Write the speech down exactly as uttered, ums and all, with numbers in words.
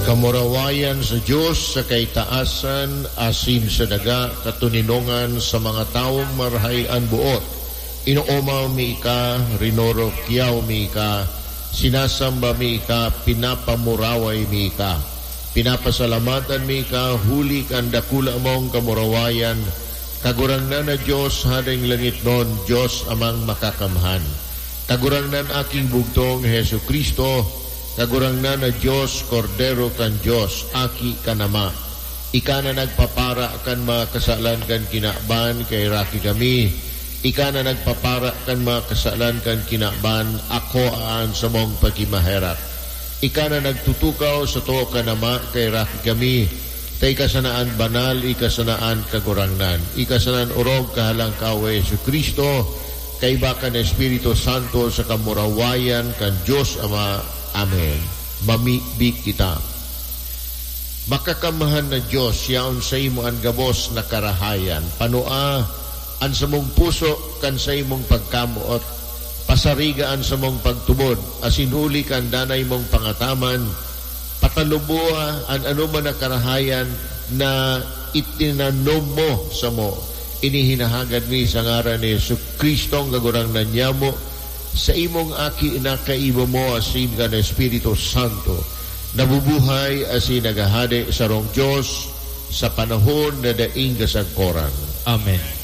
Kamurawayan sa Dios sa kaitaasan, asin sa daga katoninongan sa mga tawong marahay an boot. Inoomaw mi ika, rinorokyaw mi ika, sinasamba mi ika, pinapamuraway mi ika. Pinapasalamatan mi ika huli kan dakula mong kamurawayan, Kagurangnan na Dios, Hadeng langitnon, Dios Amang Makakamhan. Kagurangnan, Aking Bugtong, Jesu-Cristo, Kagurangnan na Dios, Kordero kan Dios, Aki kan Ama. Ika na nagpapara kan mga kasalan kan kinaban, kaheraki kami. Ika na nagpapara kan mga kasalan kan kinaban, akoa an samong pagkimaherak. Ika na nagtutukaw sa too kan Ama, kaheraki kami. Ta ika sana an banal, ika sana an Kagurangnan. Ika sana an orog, Kahalangkawe, Jesu-Cristo, kaiba kan Espiritu Santo, sa kamurawayan kan Dios Ama. Amen. Mamibi kita. Makakamhan na Dios, yaon saimo an gabos na karahayan. Panua an samong puso kan saimong pagkamoot. Pasariga an samong pagtubod, asin huli kan danay mong pangataman, pataluboa an anoman na karahayan na itinanom mo samo. Ini hinahagad mi sa ngaran ni Jesu-Cristong Kagurangnan nyamo, sa imong Aki na kaiba mo asin kan Espiritu Santo, nabubuhay asin naghahade sarong Dios sa panahon na daing kasagkoran. Amen.